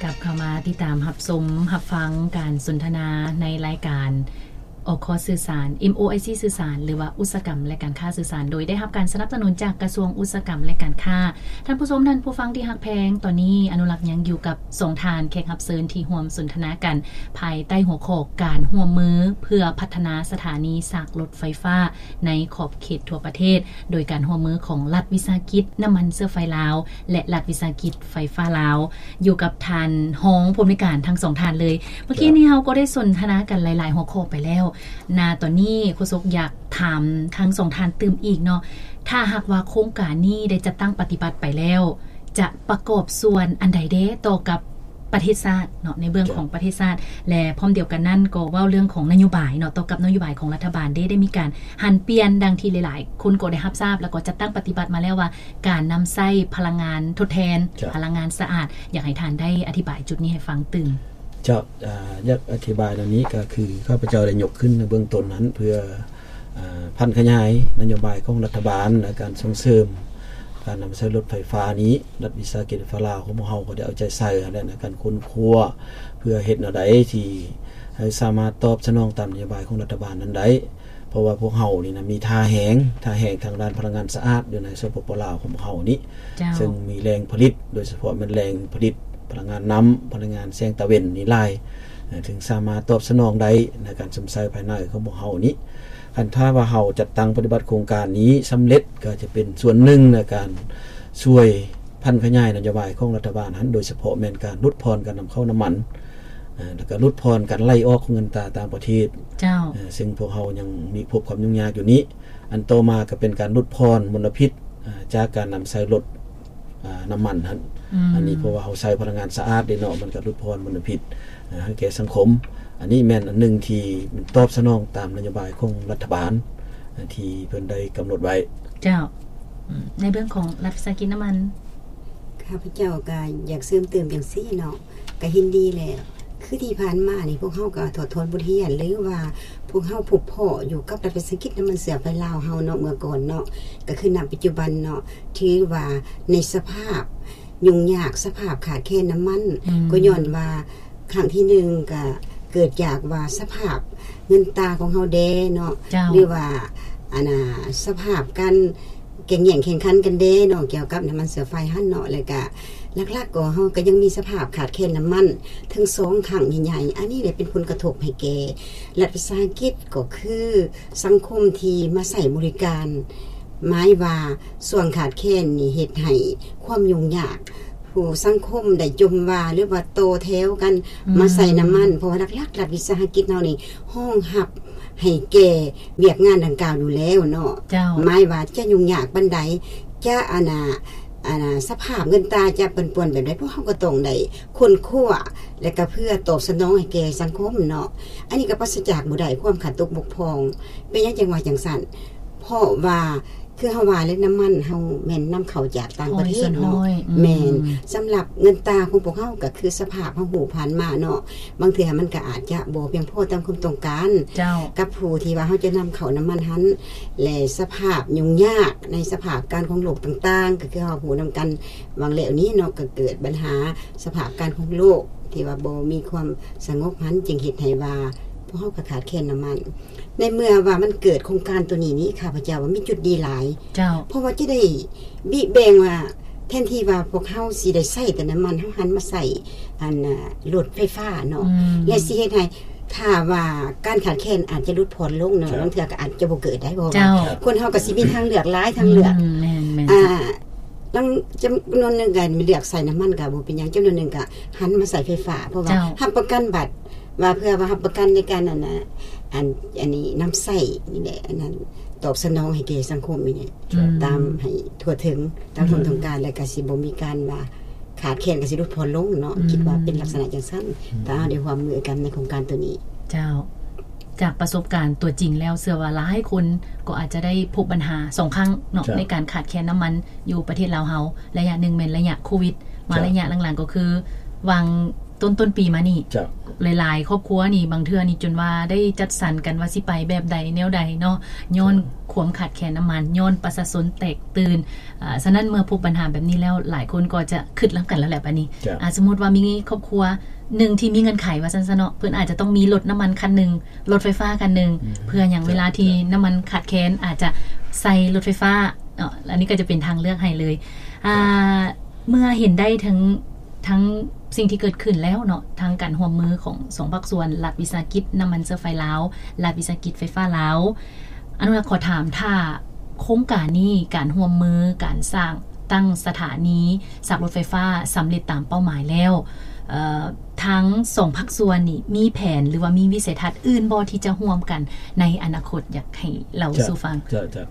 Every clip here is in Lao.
ກັບເຂົ້າມາຕິດຕາມຮັບຊົມຮັບຟັງການສົນທະນາໃນລາຍການ ໂອຄອສ ສື່ສານ ເອັມໂອໄອຊີ ສື່ສານ ຫຼືວ່າອຸດສາຫະກຳ ແລະ ການຄ້າສື່ສານ ໂດຍໄດ້ຮັບການສະໜັບສະໜູນຈາກກະຊວງອຸດສາຫະກຳ ແລະ ການຄ້າ. ທ່ານຜູ້ຊົມ, ທ່ານຜູ້ຟັງທີ່ຮັກແພງ, ຕອນນີ້ອະນຸລັກຍັງຢູ່ກັບສອງທ່ານແຂກຮັບເຊີນທີ່ຮ່ວມສົນທະນາກັນ ພາຍໃຕ້ຫົວຂໍ້ການຮ່ວມມືເພື່ອພັດທະນາສະຖານີຊາກລົດໄຟຟ້າໃນຂອບເຂດທົ່ວປະເທດ ໂດຍການຮ່ວມມືຂອງລັດວິສາຫະກິດນ້ຳມັນເຊື້ອໄຟລາວ ແລະ ລັດວິສາຫະກິດໄຟຟ້າລາວ. ຢູ່ກັບທ່ານຮອງຜູ້ອຳນວຍການທັງສອງທ່ານເລີຍ. ເມື່ອກີ້ນີ້ເຮົາກໍໄດ້ສົນທະນາກັນຫຼາຍໆຫົວຂໍ້ໄປແລ້ວ. ນາຕອນນີ້ໂຄສົກຢາກຖາມທັງສອງທ່ານຕື່ມອີກເນາະ, ຖ້າຫາກວ່າໂຄງການນີ້ໄດ້ຈັດຕັ້ງປະຕິບັດໄປແລ້ວ ຈະປະກອບສ່ວນອັນໃດແດ່ຕໍ່ກັບປະເທດຊາດເນາະ, ໃນເບື້ອງຂອງປະເທດຊາດ ແລະ ພ້ອມດຽວກັນນັ້ນກໍເວົ້າເລື່ອງຂອງນະໂຍບາຍເນາະ, ຕໍ່ກັບນະໂຍບາຍຂອງລັດຖະບານເດ້ ໄດ້ມີການຫັນປ່ຽນດັ່ງທີ່ຫຼາຍໆຄົນກໍໄດ້ຮັບຊາບ ແລ້ວກໍຈັດຕັ້ງປະຕິບັດມາແລ້ວວ່າ ການນຳໃຊ້ພະລັງງານທົດແທນ, ພະລັງງານສະອາດ. ຢາກໃຫ້ທ່ານໄດ້ອະທິບາຍຈຸດນີ້ໃຫ້ຟັງຕື່ມ. ເຈົ້າ, ຢາກອະທິບາຍແນວນີ້ ກໍຄືຂ້າພະເຈົ້າໄດ້ຍົກຂຶ້ນໃນເບື້ອງຕົ້ນນັ້ນ ເພື່ອຜັນຂະຫຍາຍນະໂຍບາຍຂອງລັດຖະບານ ແລະ ການສົ່ງເສີມການນຳໃຊ້ລົດໄຟຟ້ານີ້. ລັດວິສາຫະກິດໄຟຟ້າລາວຂອງພວກເຮົາກໍໄດ້ເອົາໃຈໃສ່ຫັ້ນແຫຼະ ໃນການຄົ້ນຄວ້າ ເພື່ອເຮັດແນວໃດທີ່ໃຫ້ສາມາດຕອບສະໜອງຕາມນະໂຍບາຍຂອງລັດຖະບານນັ້ນໄດ້. ເພາະວ່າພວກເຮົານີ້ນະ ມີທ່າແຮງ, ທ່າແຮງທາງດ້ານພະລັງງານສະອາດຢູ່ໃນ ສປປ ລາວຂອງພວກເຮົານີ້ ເຈົ້າ ເຊິ່ງມີແຫຼ່ງຜະລິດ, ໂດຍສະເພາະແມ່ນແຫຼ່ງຜະລິດພະລັງງານນ້ຳ, ພະລັງງານແສງຕາເວັນນີ້ຫຼາຍ, ເອີ່ ເຖິງສາມາດຕອບສະໜອງໄດ້ໃນການຊົມໃຊ້ພາຍໃນຂອງພວກເຮົານີ້. ຄັນຖ້າວ່າເຮົາຈັດຕັ້ງປະຕິບັດໂຄງການນີ້ສຳເລັດ ກໍຈະເປັນສ່ວນໜຶ່ງໃນການຊ່ວຍຜັນຂະຫຍາຍນະໂຍບາຍຂອງລັດຖະບານຫັ້ນ, ໂດຍສະເພາະແມ່ນການຫຼຸດຜ່ອນການນຳເຂົ້ານ້ຳມັນ, ເອີ່ ແລ້ວກໍຫຼຸດຜ່ອນການໄຫຼອອກຂອງເງິນຕາຕ່າງປະເທດ. ເຈົ້າ. ເອີ່ ເຊິ່ງພວກເຮົາຍັງມີພົບຄວາມຫຍຸ້ງຍາກຢູ່ນີ້. ອັນຕໍ່ມາກໍເປັນການຫຼຸດຜ່ອນມົນລະພິດ ເອີ່ ຈາກການນຳໃຊ້ລົດ ເອີ່ ນ້ຳມັນຫັ້ນ. ອືມ. ອັນນີ້ເພາະວ່າເຮົາໃຊ້ພະລັງງານສະອາດເດ້ເນາະ, ມັນກໍຫຼຸດຜ່ອນມົນລະພິດ ເອີ່ ໃຫ້ແກ່ສັງຄົມ. ອັນນີ້ແມ່ນອັນໜຶ່ງທີ່ມັນຕອບສະໜອງຕາມນະໂຍບາຍຂອງລັດຖະບານ ເອີ່ ທີ່ເພິ່ນໄດ້ກຳນົດໄວ້. ເຈົ້າ. ອືມ. ໃນເບື້ອງຂອງລັດວິສາຫະກິດນ້ຳມັນ ຂ້າພະເຈົ້າກໍຢາກເສີມເຕີມຈັ່ງຊີ້ເນາະ. ກະເຫັນດີແຫຼະ ຄືທີ່ຜ່ານມານີ້ ພວກເຮົາກະຖອດຖອນບົດຮຽນ ຫຼືວ່າພວກເຮົາພົບພໍ້ຢູ່ກັບລັດວິສາຫະກິດນ້ຳມັນເຊື້ອໄຟລາວເຮົາເນາະ ເມື່ອກ່ອນເນາະ ກະຄືນຳປັດຈຸບັນເນາະ ຖືວ່າໃນສະພາບຫຍຸ້ງຍາກ ສະພາບຂາດແຄນນ້ຳມັນ ອືມ ກໍຍ້ອນວ່າຄັ້ງທີໜຶ່ງກະເກີດຈາກວ່າສະພາບເງິນຕາຂອງເຮົາແດ່ເນາະ ເຈົ້າ ຫຼືວ່າ ອັນນ່າ ສະພາບການ ແກ່ງແຍ່ງແຂ່ງຂັນກັນເດ້ເນາະ ກ່ຽວກັບນ້ຳມັນເຊື້ອໄຟຫັ້ນເນາະ ແລ້ວກະຫຼັກໆກໍເຮົາກໍຍັງມີສະພາບຂາດແຄນນ້ຳມັນເຖິງສອງຄັ້ງໃຫຍ່ໆ ອັນນີ້ແຫຼະເປັນຜົນກະທົບໃຫ້ແກ່ລັດວິສາຫະກິດ ກໍຄືສັງຄົມທີ່ມາໃຊ້ບໍລິການ ໝາຍວ່າຊ່ວງຂາດແຄນນີ້ເຮັດໃຫ້ຄວາມຫຍຸ້ງຍາກ ຜູ້ສັງຄົມໄດ້ຈົ່ມວ່າ ຫຼືວ່າຕໍ່ແຖວກັນ ອືມ ມາໃສ່ນ້ຳມັນ ເພາະວ່າຫຼັກໆລັດວິສາຫະກິດເຮົານີ້ຮອງຮັບ ໃຫ້ແກ່ວຽກງານດັ່ງກ່າວຢູ່ແລ້ວເນາະ ເຈົ້າ ໝາຍວ່າຈະຫຍຸ້ງຍາກປານໃດ ຈະ ອັນນ່າ ອັນນ່າ ສະພາບເງິນຕາຈະປັ່ນປ່ວນແບບໃດ ພວກເຮົາກໍຕ້ອງໄດ້ຄົ້ນຄວ້າ ແລະກະເພື່ອຕອບສະໜອງໃຫ້ແກ່ສັງຄົມເນາະ ອັນນີ້ກໍປາສະຈາກບໍ່ໄດ້ຄວາມຂາດຕົກບົກຜ່ອງ ເປັນຫຍັງຈັ່ງວ່າຈັ່ງຊັ້ນ ເພາະວ່າ ຄືເຮົາວ່າແຫຼະ ນ້ຳມັນເຮົາແມ່ນນຳເຂົ້າຈາກຕ່າງປະເທດເນາະ ຮ້ອຍສ່ວນຮ້ອຍ ອືມ ແມ່ນ ສຳລັບເງິນຕາຂອງພວກເຮົາກໍຄືສະພາບເຮົາຮູ້ຜ່ານມາເນາະ ບາງເທື່ອມັນກໍອາດຈະບໍ່ພຽງພໍຕາມຄວາມຕ້ອງການ ເຈົ້າ ກັບຜູ້ທີ່ວ່າເຮົາຈະນຳເຂົ້ານ້ຳມັນຫັ້ນ ແລະ ສະພາບຫຍຸ້ງຍາກໃນສະພາບການຂອງໂລກຕ່າງໆ ກໍຄືເຮົາຮູ້ນຳກັນຫວ່າງແລ້ວນີ້ເນາະ ກໍເກີດບັນຫາສະພາບການຂອງໂລກທີ່ວ່າບໍ່ມີຄວາມສະຫງົບຫັ້ນ ຈຶ່ງເຮັດໃຫ້ວ່າພວກເຮົາກໍຂາດແຄນນ້ຳມັນ. ໃນເມື່ອວ່າມັນເກີດໂຄງການໂຕນີ້ນີ້ ຂ້າພະເຈົ້າວ່າມີຈຸດດີຫຼາຍ ເຈົ້າ ເພາະວ່າຈະໄດ້ບິແບ່ງວ່າ ແທນທີ່ວ່າພວກເຮົາຊິໄດ້ໃຊ້ແຕ່ນ້ຳມັນ ເຮົາຫັນມາໃຊ້ ອັນ ລົດໄຟຟ້າເນາະ ອືມ ແລະ ຊິເຮັດໃຫ້ ຖ້າວ່າການຂາດແຄນອາດຈະຫຼຸດຜ່ອນລົງເນາະ ເຈົ້າ ບາງເທື່ອກໍອາດຈະບໍ່ເກີດໄດ້ ເພາະວ່າ ເຈົ້າ ຄົນເຮົາກໍຊິມີທາງເລືອກ ຫຼາຍທາງເລືອກ ອືມ ແມ່ນໆ ອ່າ ລາງຈຳນວນໜຶ່ງກໍເລືອກໃຊ້ນ້ຳມັນກໍບໍ່ເປັນຫຍັງ ຈຳນວນໜຶ່ງກໍຫັນມາໃຊ້ໄຟຟ້າ ເພາະວ່າ ເຈົ້າ ຮັບປະກັນບັດ ວ່າເພື່ອວ່າຮັບປະກັນໃນການ ອັນນ່າ ອັນ ອັນນີ້ນຳໃຊ້ນີ້ແຫຼະ ອັນນັ້ນຕອບສະໜອງໃຫ້ແກ່ສັງຄົມນີ້ແຫຼະ ເຈົ້າ ຕາມໃຫ້ທົ່ວເຖິງຕາມຄວາມ ອືມ ຕ້ອງການ ແລະກະຊິບໍ່ມີການວ່າຂາດແຄນ ກະຊິຫຼຸດຜ່ອນລົງເນາະ ອືມ ຄິດວ່າເປັນລັກສະນະຈັ່ງຊັ້ນ ອືມ ຖ້າເຮົາໄດ້ຮ່ວມມືກັນໃນໂຄງການໂຕນີ້ ເຈົ້າ. ຈາກປະສົບການຕົວຈິງແລ້ວ ເຊື່ອວ່າຫຼາຍຄົນກໍອາດຈະໄດ້ພົບບັນຫາສອງຄັ້ງເນາະ ເຈົ້າ ໃນການຂາດແຄນນ້ຳມັນຢູ່ປະເທດລາວເຮົາ ໄລຍະໜຶ່ງແມ່ນໄລຍະໂຄວິດ ມາ ເຈົ້າ ໄລຍະຫຼັງໆກໍຄືຫວ່າງ ຕົ້ນຕົ້ນປີມານີ້ ເຈົ້າ ຫຼາຍໆຄອບຄົວນີ້ ບາງເທື່ອນີ້ຈົນວ່າໄດ້ຈັດສັນກັນວ່າຊິໄປແບບໃດແນວໃດເນາະ ຍ້ອນ ເຈົ້າ ຄວາມຂາດແຄນນ້ຳມັນ ຍ້ອນປະຊາຊົນແຕກຕື່ນ. ອາ ສະນັ້ນເມື່ອພົບບັນຫາແບບນີ້ແລ້ວ ຫຼາຍຄົນກໍຈະຄິດນຳກັນແລ້ວແຫຼະບາດນີ້ ເຈົ້າ ອາ ສົມມຸດວ່າມີຄອບຄົວໜຶ່ງທີ່ມີເງື່ອນໄຂວ່າຊັ້ນຊະເນາະ ເພິ່ນອາດຈະຕ້ອງມີລົດນ້ຳມັນຄັນໜຶ່ງ ລົດໄຟຟ້າຄັນໜຶ່ງ ອືມ ເພື່ອຫຍັງ ເຈົ້າ ເວລາທີ່ ເຈົ້າ ນ້ຳມັນຂາດແຄນ ອາດຈະໃສ່ລົດໄຟຟ້າເນາະ ອັນນີ້ກໍຈະເປັນທາງເລືອກໃຫ້ເລີຍ. ອາ ເຈົ້າ ເມື່ອເຫັນໄດ້ເຖິງ ທັງສິ່ງທີ່ເກີດຂຶ້ນແລ້ວເນາະ ທັງການຮ່ວມມືຂອງສອງພາກສ່ວນ ລັດວິສາຫະກິດນ້ຳມັນເຊື້ອໄຟລາວ ລັດວິສາຫະກິດໄຟຟ້າລາວ. ອະນຸລັກ ຂໍຖາມ ຖ້າໂຄງການນີ້ ການຮ່ວມມື ການສ້າງຕັ້ງສະຖານີສາກລົດໄຟຟ້າສຳເລັດຕາມເປົ້າໝາຍແລ້ວ ເອີ ທັງສອງພາກສ່ວນນີ້ມີແຜນ ຫຼືວ່າມີວິໄສທັດອື່ນບໍ່ ທີ່ຈະຮ່ວມກັນໃນອະນາຄົດ? ຢາກໃຫ້ເລົ່າ ເຈົ້າ ສູ່ຟັງ. ເຈົ້າ ເຈົ້າ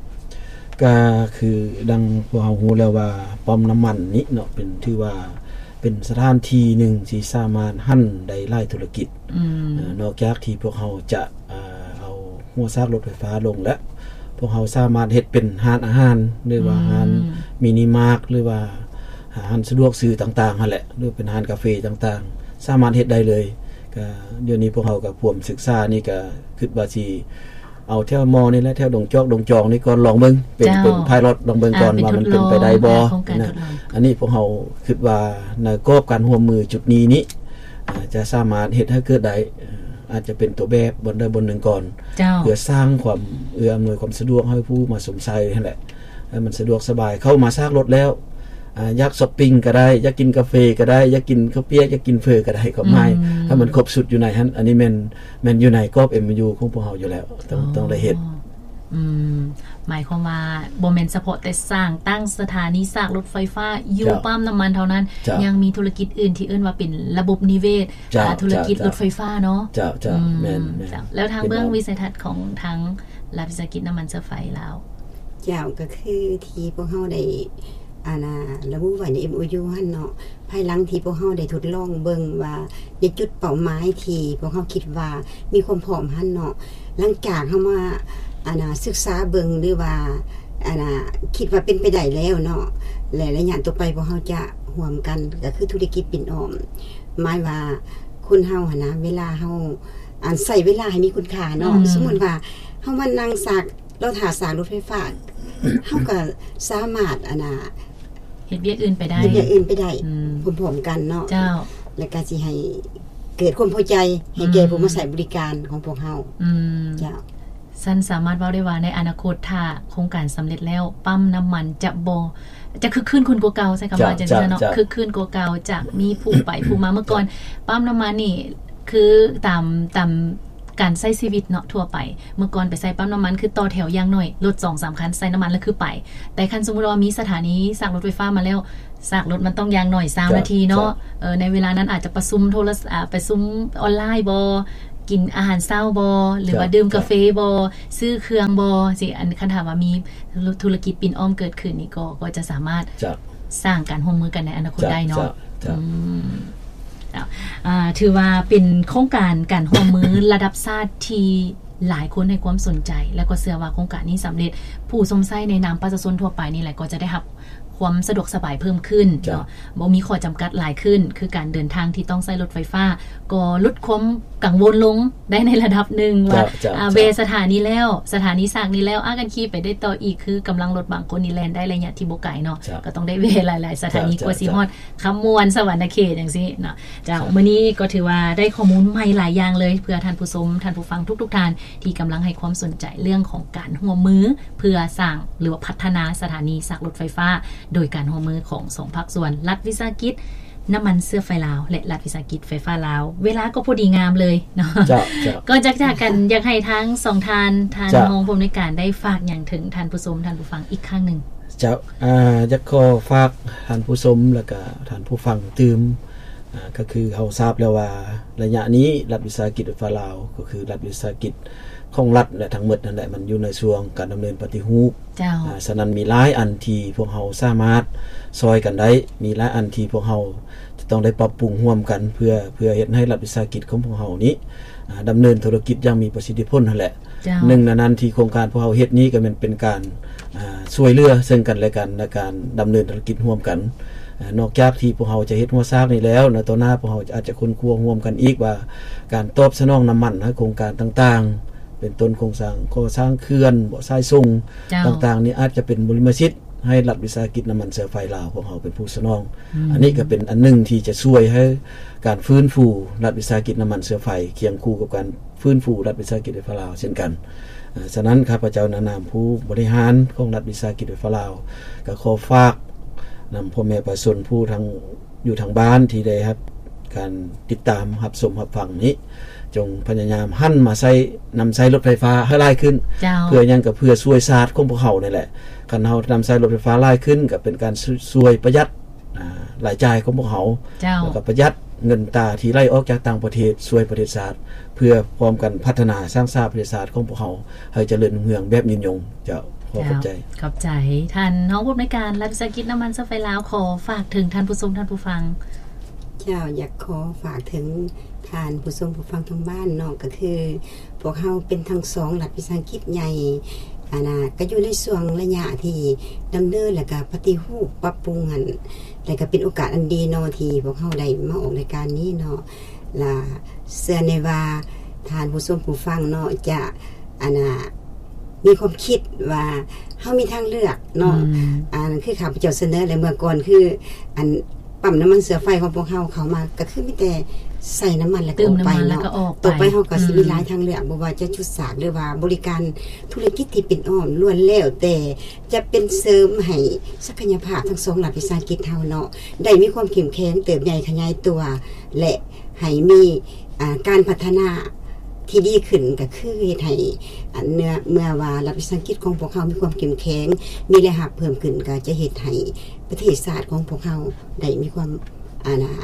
ກໍຄືດັ່ງພວກເຮົາຮູ້ແລ້ວວ່າປ້ອມນ້ຳມັນນີ້ເນາະ ເປັນ ຖືວ່າເປັນສະຖານທີ່ໜຶ່ງທີ່ສາມາດຫັນໄດ້ຫຼາຍທຸລະກິດ ອືມ ເອີ ນອກຈາກທີ່ພວກເຮົາຈະ ເອີ ເອົາຫົວສາກລົດໄຟຟ້າລົງແລ້ວ ພວກເຮົາສາມາດເຮັດເປັນຮ້ານອາຫານ ຫຼືວ່າ ອືມ ຮ້ານມິນິມາດ ຫຼືວ່າຮ້ານສະດວກຊື້ຕ່າງໆຫັ້ນແຫຼະ ຫຼືເປັນຮ້ານກາເຟຕ່າງໆ ສາມາດເຮັດໄດ້ເລີຍ. ກໍດຽວນີ້ພວກເຮົາກໍພວມສຶກສານີ້ ກໍຄິດວ່າຊິ ເອົາແຖວມໍນີ້ແຫຼະ ແຖວດົງຈອກດົງຈອງນີ້ກ່ອນ ລອງເບິ່ງ ເປັນ ເຈົ້າ ເປັນ pilot ລອງເບິ່ງກ່ອນ ອາ ເປັນ ວ່າມັນເປັນໄປໄດ້ບໍ່ ອາ ໂຄງການ ນະ ທົດລອງ. ອັນນີ້ພວກເຮົາຄິດວ່າໃນກອບການຮ່ວມມືຈຸດນີ້ນີ້ ອາ ຈະສາມາດເຮັດໃຫ້ເກີດໄດ້ ອາ ອາດຈະເປັນຕົວແບບບ່ອນໃດບ່ອນໜຶ່ງກ່ອນ ເຈົ້າ ເພື່ອສ້າງຄວາມເອື້ອອຳນວຍຄວາມສະດວກໃຫ້ຜູ້ມາຊົມໃຊ້ຫັ້ນແຫຼະ ໃຫ້ມັນສະດວກສະບາຍ ເຂົ້າມາສາກລົດແລ້ວ ອາ ຢາກຊັອບປິງກໍໄດ້ ຢາກກິນກາເຟກໍໄດ້ ຢາກກິນເຂົ້າປຽກ ຢາກກິນເຝີກໍໄດ້ ຄວາມໝາຍ ອືມ ໃຫ້ມັນຄົບຊຸດຢູ່ໃນຫັ້ນ. ອັນນີ້ແມ່ນ ແມ່ນຢູ່ໃນກອບ MOU ຂອງພວກເຮົາຢູ່ແລ້ວ ຕ້ອງ ອໍ ຕ້ອງໄດ້ເຮັດ. ອືມ ໝາຍຄວາມວ່າບໍ່ແມ່ນສະເພາະແຕ່ສ້າງຕັ້ງສະຖານີສາກລົດໄຟຟ້າຢູ່ ເຈົ້າ ປ້ຳນ້ຳມັນເທົ່ານັ້ນ ເຈົ້າ ຍັງມີທຸລະກິດອື່ນທີ່ເອີ້ນວ່າເປັນລະບົບນິເວດ ເຈົ້າ ອາ ທຸລະກິດ ເຈົ້າ ລົດໄຟຟ້າເນາະ ເຈົ້າ ເຈົ້າ ອືມ ແມ່ນ ແມ່ນ ເຈົ້າ ແລ້ວທາງເບື້ອງວິໄສທັດຂອງທາງລັດວິສາຫະກິດນ້ຳມັນເຊື້ອໄຟລາວ? ເຈົ້າ ກໍຄືທີ່ພວກເຮົາໄດ້ ອັນນ່າ ລະບຸໄວ້ໃນ MOU ຫັ້ນເນາະ ພາຍຫຼັງທີ່ພວກເຮົາໄດ້ທົດລອງເບິ່ງວ່າ ໃນຈຸດເປົ້າໝາຍທີ່ພວກເຮົາຄິດວ່າມີຄວາມພ້ອມຫັ້ນເນາະ ຫຼັງຈາກເຮົາມາ ອັນນ່າ ສຶກສາເບິ່ງ ຫຼືວ່າ ອັນນ່າ ຄິດວ່າເປັນໄປໄດ້ແລ້ວເນາະ ແລະ ໄລຍະຕໍ່ໄປພວກເຮົາຈະຮ່ວມກັນ ກໍຄືທຸລະກິດປິ່ນອ້ອມ ໝາຍວ່າຄົນເຮົາຫັ້ນນະ ເວລາເຮົາ ອັນ ໃຊ້ເວລາໃຫ້ມີຄຸນຄ່າເນາະ ອືມ ສົມມຸດວ່າເຮົາມານັ່ງສາກ ລໍຖ້າສາກລົດໄຟຟ້າ ເຮົາກໍສາມາດ ອັນນ່າ ເຮັດວຽກອື່ນໄປໄດ້ ເຮັດວຽກອື່ນໄປໄດ້ ອືມ ພ້ອມໆກັນເນາະ ເຈົ້າ ແລ້ວກໍຊິໃຫ້ເກີດຄວາມພໍໃຈໃຫ້ແກ່ ອືມ ຜູ້ມາໃຊ້ບໍລິການຂອງພວກເຮົາ ອືມ ເຈົ້າ. ຊັ້ນສາມາດເວົ້າໄດ້ວ່າໃນອະນາຄົດ ຖ້າໂຄງການສຳເລັດແລ້ວ ປ້ຳນ້ຳມັນຈະບໍ່ ຈະຄຶກຄື້ນຂຶ້ນກວ່າເກົ່າ ໃຊ້ຄຳວ່າ ເຈົ້າ ຈັ່ງຊັ້ນເນາະ ເຈົ້າ ຄຶກຄື້ນກວ່າເກົ່າ ຈະມີຜູ້ໄປຜູ້ມາ. ເມື່ອກ່ອນ ເຈົ້າ ປ້ຳນ້ຳມັນນີ້ ຄືຕາມ ຕາມ ການໃຊ້ຊີວິດເນາະທົ່ວໄປ ເມື່ອກ່ອນໄປໃສ່ປ້ຳນ້ຳມັນ ຄືຕໍ່ແຖວຢ່າງໜ້ອຍ ລົດສອງສາມຄັນໃສ່ນ້ຳມັນແລ້ວຄືໄປ ແຕ່ຄັນສົມມຸດວ່າມີສະຖານີສາກລົດໄຟຟ້າມາແລ້ວ ສາກລົດມັນຕ້ອງຢ່າງໜ້ອຍຊາວນາທີເນາະ ເຈົ້າ ເອີ ໃນເວລານັ້ນອາດຈະປະຊຸມໂທລະ ອາ ປະຊຸມອອນລາຍບໍ ກິນອາຫານເຊົ້າບໍ ຫຼືວ່າ ເຈົ້າ ດື່ມກາເຟບໍ ເຈົ້າ ຊື້ເຄື່ອງບໍ ຊິ ອັນ ຄັນຖ້າວ່າມີທຸລະກິດປິ່ນອ້ອມເກີດຂຶ້ນນີ້ ກໍ ກໍຈະສາມາດ ເຈົ້າ ສ້າງການຮ່ວມມືກັນໃນອະນາຄົດ ເຈົ້າ ໄດ້ເນາະ ເຈົ້າ ເຈົ້າ ອືມ ເຈົ້າ ອາ ຖືວ່າເປັນໂຄງການການຮ່ວມມືລະດັບຊາດທີ່ຫຼາຍຄົນໃຫ້ຄວາມສົນໃຈ ແລະ ກໍເຊື່ອວ່າໂຄງການນີ້ສຳເລັດ ຜູ້ຊົມໃຊ້ໃນນາມປະຊາຊົນທົ່ວໄປນີ້ແຫຼະ ກໍຈະໄດ້ຮັບຄວາມສະດວກສະບາຍເພີ່ມຂຶ້ນ ເຈົ້າ ເນາະ ບໍ່ມີຂໍ້ຈຳກັດຫຼາຍຂຶ້ນ ຄືການເດີນທາງທີ່ຕ້ອງໃຊ້ລົດໄຟຟ້າ ກໍຫຼຸດຄວາມກັງວົນລົງໄດ້ໃນລະດັບໜຶ່ງວ່າ ເຈົ້າ ເຈົ້າ ອາ ເຈົ້າ ແວ່ສະຖານີແລ້ວ ສະຖານີສາກນີ້ແລ້ວ ອາ ກັນຂີ່ໄປໄດ້ຕໍ່ອີກ ຄືກຳລັງລົດບາງຄົນນີ້ແລ່ນໄດ້ໄລຍະທີ່ບໍ່ໄກເນາະ ເຈົ້າ ກໍຕ້ອງໄດ້ແວ່ຫຼາຍໆສະຖານີ ເຈົ້າ ກວ່າຊິຮອດ ເຈົ້າ ຄຳມ່ວນ ສະຫວັນນະເຂດ ຈັ່ງຊີ້ເນາະ ເຈົ້າ ເຈົ້າ ມື້ນີ້ກໍຖືວ່າໄດ້ຂໍ້ມູນໃໝ່ຫຼາຍຢ່າງເລີຍ ເພື່ອທ່ານຜູ້ຊົມ ທ່ານຜູ້ຟັງທຸກໆທ່ານ ທີ່ກຳລັງໃຫ້ຄວາມສົນໃຈເລື່ອງຂອງການຮ່ວມມື ເພື່ອສ້າງ ຫຼືວ່າພັດທະນາສະຖານີສາກລົດໄຟຟ້າ ໂດຍການຮ່ວມມືຂອງສອງພາກສ່ວນ ລັດວິສາຫະກິດນ້ຳມັນເຊື້ອໄຟລາວ ແລະ ລັດວິສາຫະກິດໄຟຟ້າລາວ. ເວລາກໍພໍດີງາມເລີຍເນາະ ເຈົ້າ ເຈົ້າ ກ່ອນຈາກຈາກກັນ ຢາກໃຫ້ທັງສອງທ່ານ ທ່ານ ເຈົ້າ ຮອງຜູ້ອຳນວຍການ ໄດ້ຝາກຫຍັງເຖິງທ່ານຜູ້ຊົມ ທ່ານຜູ້ຟັງອີກຄັ້ງໜຶ່ງ? ເຈົ້າ ອາ ຢາກຂໍຝາກທ່ານຜູ້ຊົມ ແລະ ກະທ່ານຜູ້ຟັງຕື່ມ ອາ ກໍຄືເຮົາຊາບແລ້ວວ່າ ໄລຍະນີ້ລັດວິສາຫະກິດໄຟຟ້າລາວ ກໍຄືລັດວິສາຫະກິດຂອງລັດ ແລະ ທັງໝົດນັ້ນແຫຼະ ມັນຢູ່ໃນຊ່ວງການດຳເນີນປະຕິຮູບ ເຈົ້າ ອາ ສະນັ້ນມີຫຼາຍອັນທີ່ພວກເຮົາສາມາດຊ່ອຍກັນໄດ້ ມີຫຼາຍອັນທີ່ພວກເຮົາຈະຕ້ອງໄດ້ປັບປຸງຮ່ວມກັນ ເພື່ອ ເພື່ອເຮັດໃຫ້ລັດວິສາຫະກິດຂອງພວກເຮົານີ້ ອາ ດຳເນີນທຸລະກິດຢ່າງມີປະສິດທິຜົນຫັ້ນແຫຼະ ເຈົ້າ ໜຶ່ງໃນນັ້ນທີ່ໂຄງການພວກເຮົາເຮັດນີ້ ກໍແມ່ນເປັນການ ອາ ຊ່ວຍເຫຼືອເຊິ່ງກັນແລະກັນ ໃນການດຳເນີນທຸລະກິດຮ່ວມກັນ ນອກຈາກທີ່ພວກເຮົາຈະເຮັດຮົ້ວຊາກນີ້ແລ້ວ ໃນຕໍ່ໜ້າພວກເຮົາອາດຈະຄົ້ນຄວ້າຮ່ວມກັນອີກວ່າ ການຕອບສະໜອງນ້ຳມັນໃຫ້ໂຄງການຕ່າງໆ ເປັນຕົ້ນໂຄງສ້າງ ກໍ່ສ້າງເຂື່ອນບໍ່ ສາຍສົ່ງ ເຈົ້າ ຕ່າງໆນີ້ ອາດຈະເປັນບຸລິມະສິດໃຫ້ລັດວິສາຫະກິດນ້ຳມັນເຊື້ອໄຟລາວ ພວກເຮົາເປັນຜູ້ສະໜອງ. ອືມ ອັນນີ້ກໍເປັນອັນໜຶ່ງທີ່ຈະຊ່ວຍໃຫ້ການຟື້ນຟູລັດວິສາຫະກິດນ້ຳມັນເຊື້ອໄຟ ຄຽງຄູ່ກັບການຟື້ນຟູລັດວິສາຫະກິດໄຟຟ້າລາວເຊັ່ນກັນ. ເອີ ສະນັ້ນ ຂ້າພະເຈົ້າໃນນາມຜູ້ບໍລິຫານຂອງລັດວິສາຫະກິດໄຟຟ້າລາວ ກໍຂໍຝາກນຳພໍ່ແມ່ປະຊາຊົນຜູ້ທາງ ຢູ່ທາງບ້ານທີ່ໄດ້ຮັບການຕິດຕາມຮັບຊົມຮັບຟັງນີ້ ຈົ່ງພະຍາຍາມຫັນມາໃຊ້ ນຳໃຊ້ລົດໄຟຟ້າໃຫ້ຫຼາຍຂຶ້ນ. ເຈົ້າ ເພື່ອຫຍັງ? ກໍເພື່ອຊ່ວຍຊາດຂອງພວກເຮົານີ້ແຫຼະ. ຄັນເຮົານຳໃຊ້ລົດໄຟຟ້າຫຼາຍຂຶ້ນ ກໍເປັນການ ຊ່- ຊ່ວຍປະຢັດ ອາ ລາຍຈ່າຍຂອງພວກເຮົາ. ເຈົ້າ ແລ້ວກໍປະຢັດເງິນຕາທີ່ໄຫຼອອກຈາກຕ່າງປະເທດ ຊ່ວຍປະເທດຊາດ ເພື່ອພ້ອມກັນພັດທະນາສ້າງສາປະເທດຊາດຂອງພວກເຮົາ ໃຫ້ຈະເລີນຮຸ່ງເຮືອງແບບຍືນຍົງ. ເຈົ້າ ຂໍຂອບໃຈ. ເຈົ້າ ຂອບໃຈ. ທ່ານຮອງຜູ້ອຳນວຍການລັດວິສາຫະກິດນ້ຳມັນເຊື້ອໄຟລາວ ຂໍຝາກເຖິງທ່ານຜູ້ຊົມທ່ານຜູ້ຟັງ. ເຈົ້າ ຢາກຂໍຝາກເຖິງທ່ານຜູ້ຊົມຜູ້ຟັງທາງບ້ານເນາະ ກໍຄືພວກເຮົາເປັນທັງສອງລັດວິສາຫະກິດໃຫຍ່ ອັນນ່າ ກໍຢູ່ໃນຊ່ວງໄລຍະທີ່ດຳເນີນ ແລ້ວກໍປະຕິຮູບປັບປຸງຫັ້ນ ແລ້ວກໍເປັນໂອກາດອັນດີເນາະ ທີ່ພວກເຮົາໄດ້ມາອອກລາຍການນີ້ເນາະ. ລະເຊື່ອແນ່ວ່າທ່ານຜູ້ຊົມຜູ້ຟັງເນາະ ຈະ ອັນນ່າ ມີຄວາມຄິດວ່າເຮົາມີທາງເລືອກເນາະ. ອືມ ອັນຄືຂ້າພະເຈົ້າສະເໜີແລ້ວເມື່ອກ່ອນ ຄືອັນປ້ຳນ້ຳມັນເຊື້ອໄຟຂອງພວກເຮົາເຂົ້າມາ ກໍຄືມີແຕ່ໃສ່ນ້ຳມັນແລ້ວກໍອອກໄປເນາະ. ຕໍ່ໄປເຮົາກໍຊິມີຫຼາຍທາງເລືອກ ບໍ່ວ່າຈະຈຸດສາກ ຫຼືວ່າບໍລິການທຸລະກິດທີ່ເປັນອ້ອມ ລ້ວນແລ້ວແຕ່ຈະເປັນເສີມໃຫ້ສັກກະຍະພາບທັງສອງລັດວິສາຫະກິດເຮົາເນາະ ໄດ້ມີຄວາມເຂັ້ມແຂງ ເຕີບໃຫຍ່ຂະຫຍາຍຕົວ ແລະ ໃຫ້ມີ ອ່າ ການພັດທະນາທີ່ດີຂຶ້ນ ກໍຄືເຮັດໃຫ້ ອັນ ເມື່ອ ເມື່ອວ່າລັດວິສາຫະກິດຂອງພວກເຮົາມີຄວາມເຂັ້ມແຂງ ມີລາຍຮັບເພີ່ມຂຶ້ນ ກໍຈະເຮັດໃຫ້ປະເທດຊາດຂອງພວກເຮົາໄດ້ມີຄວາມ ອັນນ່າ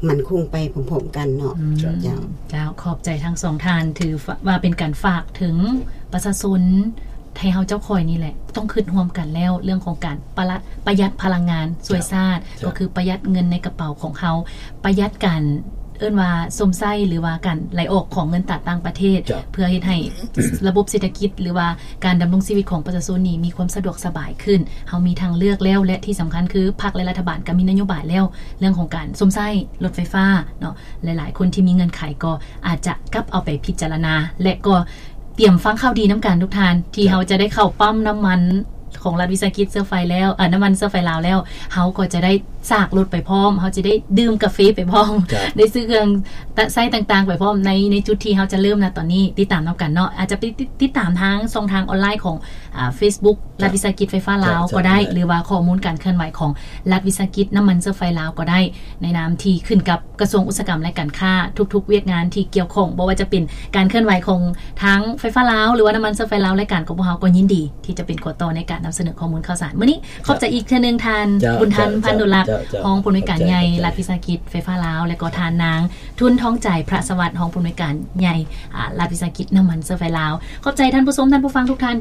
ໝັ້ນຄົງໄປພ້ອມໆກັນເນາະ. ອືມ ເຈົ້າ ເຈົ້າ ຂອບໃຈທັງສອງທ່ານ ຖືວ່າເປັນການຝາກເຖິງປະຊາຊົນ ໄທເຮົາເຈົ້າຂ້ອຍນີ້ແຫຼະ ຕ້ອງຄິດຮ່ວມກັນແລ້ວ ເລື່ອງຂອງການປະລະ ປະຢັດພະລັງງານ ຊ່ວຍຊາດ ເຈົ້າ ກໍຄືປະຢັດເງິນໃນກະເປົາຂອງເຮົາ ປະຢັດການ ເອີ້ນວ່າຊົມໃຊ້ ຫຼືວ່າການໄຫຼອອກຂອງເງິນຕາຕ່າງປະເທດ ເພື່ອເຮັດໃຫ້ລະບົບເສດຖະກິດ ຫຼືວ່າການດຳລົງຊີວິດຂອງປະຊາຊົນນີ້ມີຄວາມສະດວກສະບາຍຂຶ້ນ. ເຮົາມີທາງເລືອກແລ້ວ ແລະ ທີ່ສຳຄັນຄືພັກ ແລະ ລັດຖະບານກໍມີນະໂຍບາຍແລ້ວ ເລື່ອງຂອງການຊົມໃຊ້ລົດໄຟຟ້າເນາະ. ຫຼາຍໆຄົນທີ່ມີເງື່ອນໄຂກໍອາດຈະກັບເອົາໄປພິຈາລະນາ ແລະ ກໍ ຕຽມຟັງຂ່າວດີນຳກັນທຸກທ່ານ ທີ່ເຮົາຈະໄດ້ເຂົ້າປ້ຳນ້ຳມັນຂອງລັດວິສາຫະກິດເຊື້ອໄຟແລ້ວ ເອີ ນ້ຳມັນເຊື້ອໄຟລາວແລ້ວ ເຮົາກໍຈະໄດ້ສາກລົດໄປພ້ອມ ເຮົາຈະໄດ້ດື່ມກາເຟໄປພ້ອມ ໄດ້ຊື້ເຄື່ອງໃຊ້ຕ່າງໆໄປພ້ອມ ໃນ ໃນຈຸດທີ່ເຮົາຈະເລີ່ມນະຕອນນີ້. ຕິດຕາມນຳກັນເນາະ ອາດຈະໄປຕິດ ຕິດຕາມທາງຊ່ອງທາງອອນລາຍຂອງ ອ່າ ເຟສບຸກ ລັດວິສາຫະກິດໄຟຟ້າລາວກໍໄດ້ ຫຼືວ່າຂໍ້ມູນການເຄື່ອນໄຫວຂອງລັດວິສາຫະກິດນ້ຳມັນເຊື້ອໄຟລາວກໍໄດ້ ໃນນາມທີ່ຂຶ້ນກັບ ກະຊວງອຸດສາຫະກຳ ແລະ ການຄ້າ ທຸກໆວຽກງານທີ່ກ່ຽວຂ້ອງ ບໍ່ວ່າຈະເປັນການເຄື່ອນໄຫວຂອງທາງໄຟຟ້າລາວ ຫຼືວ່ານ້ຳມັນເຊື້ອໄຟລາວ ລາຍການຂອງພວກເຮົາກໍຍິນດີທີ່ຈະເປັນຂົວຕໍ່ໃນການນຳສະເໜີຂໍ້ມູນຂ່າວສານ. ມື້ນີ້ຂອບໃຈອີກເທື່ອໜຶ່ງທ່ານ ເຈົ້າ ບຸນທັນ ເຈົ້າ ພັນດຸລັກ ເຈົ້າ ເຈົ້າ ຮອງຜູ້ອຳນວຍການໃຫຍ່ ເຈົ້າ ລັດວິສາຫະກິດໄຟຟ້າລາວ ແລະ ກໍທ່ານນາງ ທຶນທອງໃຈ ພະສະຫວັດ ຮອງຜູ້ອຳນວຍການໃຫຍ່ ອາ ລັດວິສາຫະກິດນ້ຳມັນເຊື້ອໄຟລາວ. ຂອບໃຈທ່ານຜູ້ຊົມທ່ານຜູ້ຟັງທຸກທ່ານທີ່